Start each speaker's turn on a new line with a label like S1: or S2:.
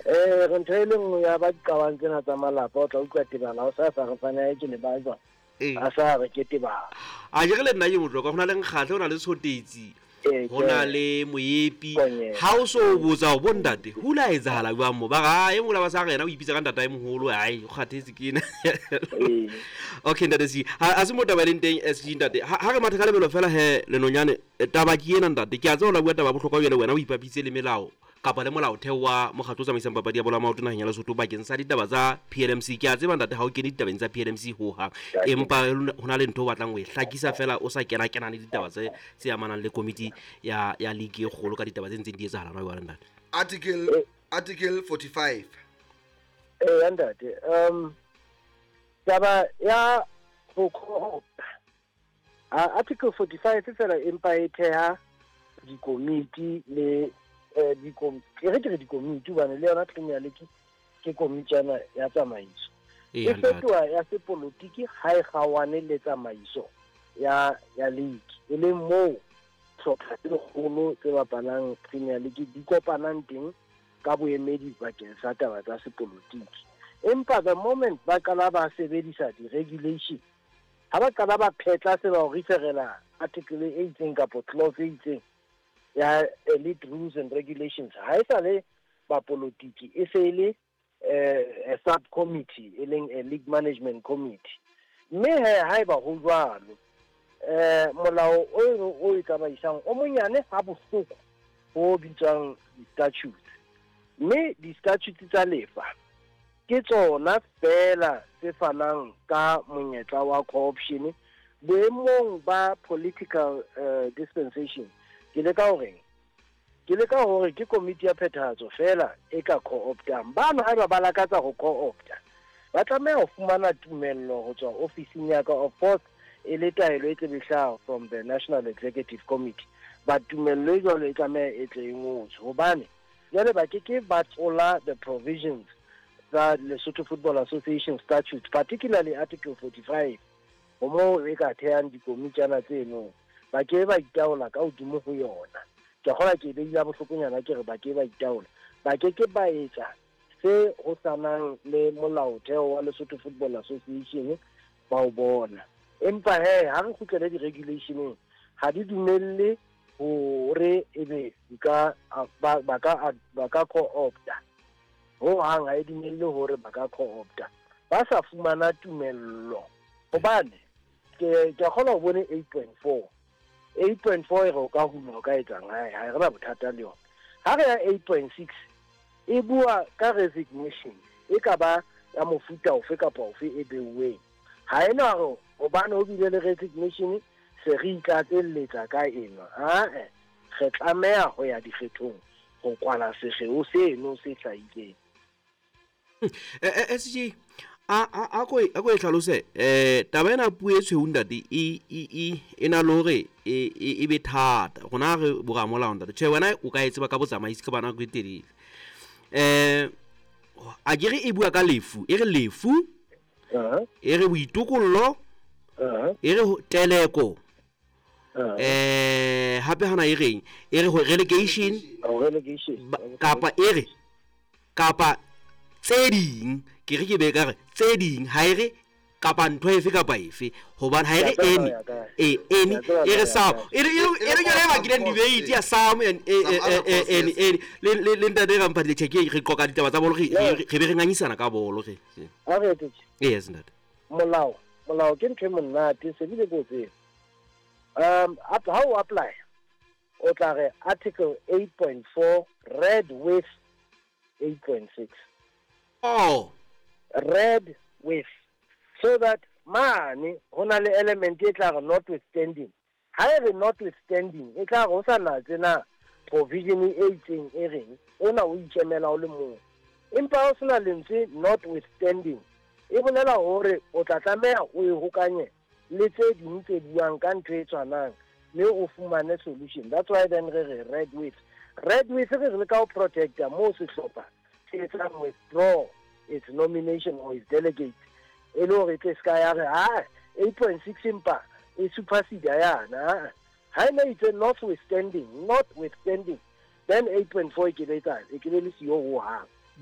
S1: Re ntho e le nngwe ya ba diqabang tsena tsa malapa, o tla utlwa tebala o sa sa re fane a ke le ba jwang. A sa re ke tebala.
S2: A ke re le nna ke motlokwa, ho na le nkgatlhe, ho na le tshotetsi, ho na le moepi. Ha o so o botsa ho bo ntate, ho la etsahala jwang mo? Ba re, "Ah, e mong la ba sa re yena o ipitsa ka ntata e moholo, ai, o kgathetse ke ena." Okay, ntate SG, ha se mo taba e leng teng SG ntate. Ha re matha ka lebelo fela he lenonyane, taba ke ena ntate. Ke a tseba o la bua taba ya bohlokwa jwale wena o ipapitse le melao kapa le molaotheo wa mokgatlo o tsamaisang papadi ya bolo ya maoto naheng ya Lesotho bakeng sa ditaba tsa PLMC. Ke a tseba ntate ha o kene ditabeng tsa PLMC hohang, empa ho na le ntho o batlang ho e hlakisa fela o sa kena kenane ditaba tse tse amanang le komiti ya ya league e kgolo ka ditaba tse ntseng di etsahala hona jwale ntate.
S3: Article 45.
S1: Ee, ntate. Taba ya ho co-opta. Article 45 fela empa e theha dikomiti le e re ke re dikomiti hobane le yona Premier League ke komitjana ya tsamaiso. E fetoha ya sepolotiki ha e kgaohane le tsamaiso ya ya league, e leng moo hlopha tse kgolo tse bapalang Premier League di kopanang teng ka boemedi bakeng sa taba tsa sepolotiki. Empa the moment ba qala ba sebedisa di-regulation, ha ba qala ba phetla se ba o referela article e itseng kapa clause e itseng ya elite rules and regulations, ha e sa le bapolotiki, e se e le a subcommittee, e leng a league management committee. Mme he haeba ho jwalo, molao o e tsamaisang o monyane ha bohloko ho bitswang di-statutes. Mme di-statutes tsa lefa ke tsona fela tse fanang ka monyetla wa co-option boemong ba political dispensation. Ke leka horeng? Ke leka hore ke komiti ya phethahatso fela e ka co-optang. Bana haeba ba lakatsa ho co-opta, ba tlameha ho fumana tumello ho tswa ofising ya ka, of course e le taelo e tlebe hlaha from the National Executive Committee. Ba tumello e jwalo e tlameha e tle e ngotswe, hobane jwale ba ke ke ba tlola the provisions tsa Lesotho Football Association statutes, particularly Article 45, ho moo e ka thehang dikomitjana tseno. Ba ke ba itaola ka hodimo ho yona. Ke kgola ke beile bohlokonyana ke re ba ke ba itaola. Ba ke ke ba etsa se ho sanang le molaotheo wa Lesotho Football Association ba o bona. Empa he ha re kgutlele di-regulationeng, ha di dumelle hore ebe di ka ba ba ka ba ka co-opta. Ho hang ha e dumelle hore ba ka co-opta ba sa fumana tumello, hobane ke ke kgona ho bone 8.4. 8.4 e re o ka hula o ka etsang, ha re na bothata le yona. Ha re ya 8.6 e bua ka resignation e ka ba ya mofuta ofe kapa ofe e beuweng. Ha ena hore hobane ho bile le resignation se re itlatselletsa ka eno. Ae, re tlameha ho ya dikgethong ho kwala sekgeo seno se hlahileng.
S2: SG, a ko e hlalose taba ena puo e tshweu ntate e e e na le hore e be thata rona re boramolao ntate. Tjhe, wena o ka e tseba ka botsamaisi ka bana e telele. A ke re e bua ka lefu, e re lefu, e re boitokollo, e re teleko, hape hana e reng, e re relegation, kapa e re kapa tse ding. Ke re ke be ka re tse ding, ha e re kapa ntho efe kapa efe, hobane ha e re any, any e re some, e re e re yona e bakileng debate ya some and any any le ntate Ramphatile. Tjhe, ke re qoqa ditaba tsa bolo, re be re ngangisana ka bolo re.
S1: A re etse
S2: Yes ntate.
S1: Molao ke ntho e monate se bile ko tseba. Ha o apply o tla re article 8.4 read with 8.6.
S2: Oh,
S1: read with, so that mane ho na le element e tla re notwithstanding. Ha e re notwithstanding, e tla re ho sa natse na provision e itseng e reng ona o ikemela o le mong. Empa ha o sena lentswe notwithstanding, e bolela hore o tla tlameha o e hokanye le tse ding tse buang ka ntho e tshwanang, mme o fumane solution. That's why then re re read with. Read with re re leka ho protecta moo sehlopha se etsang withdraw its nomination or its delegate, e le hore e tle se ka ya re ha 8.6 empa e supersede yana. Ha e ne itse notwithstanding, notwithstanding, then 8.4 e ke be etsa e ke be le siyo hohang.